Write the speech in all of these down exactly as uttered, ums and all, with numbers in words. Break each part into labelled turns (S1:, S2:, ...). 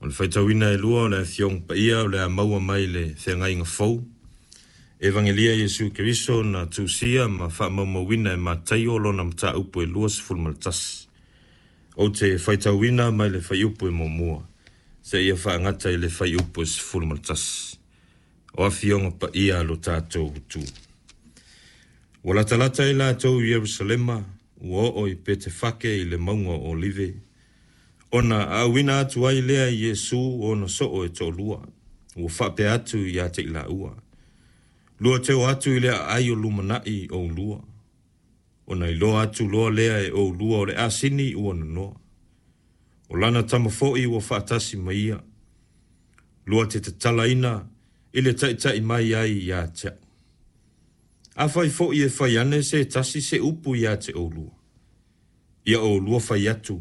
S1: O le faitauina e lua o le Afioga Paia o le a maua mai le Feagaiga Fou. Evagelia Iesu Keriso na tusia ma faamaumauina e Mataio lona mataupu e luasefulu ma le tasi. Ou te faitauina mai le fuaiupu e muamua seia faagata i le fuaiupu e sefulu ma le tasi. O Afioga Paia a lo tatou Atua. Ua latalata ai latou i Ierusalema, ua oo i Petefake i le mauga o Olive, ona aauina atu ai lea e Iesu ona soo e toalua, ua faapea atu ia te i laua, lua te o atu i le aai o lumanai o ulua, ona iloa atu loa lea e oulua o le asini ua nonoa. O lana tama foi ua faatasi ma ia, lua te tatalaina i le taitai mai ai ia te a'u. Afai foi e fai ane se tasi se upu ia te oulua, ia oulua fai atu,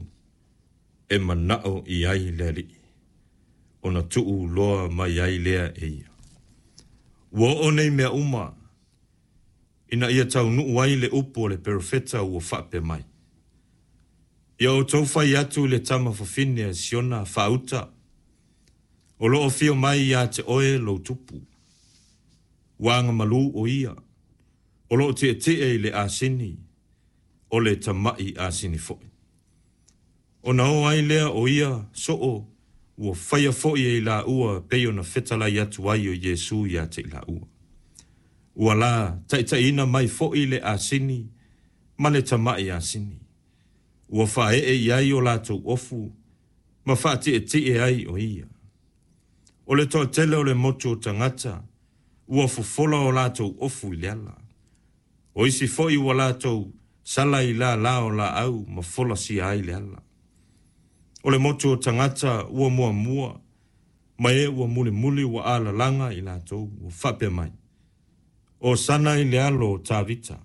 S1: e manao i ai le Alii, ona tuu loa mai ai lea e ia. Ua oo nei mea uma, ina ia taunuu ai le upu o le perofeta ua faapea mai. Ia outou fai atu i le tama fafine a Siona faauta, o loo afio mai ia te oe lou tupu. Ua agamalu o ia, o loo tietie i le asini, o le tama'i asini foi. Ona o ai lea o ia soo, ua faia foi e i laua pei ona fetalai atu ai o Iesu ia te i laua. Ua la taitaiina mai foi le asini ma le tama'i asini. Ua faaee i ai o latou ofu ma faatietie ai o ia. O le toatele o le motu o tagata, ua fofola o latou ofu i le ala. O isi foi ua latou sala i lala o laau ma folasia ai le ala. O le motu o tagata ua muamua, ma e ua mulimuli ua alalaga i latou, ua faapea mai. Hosana i le alo o Tavita.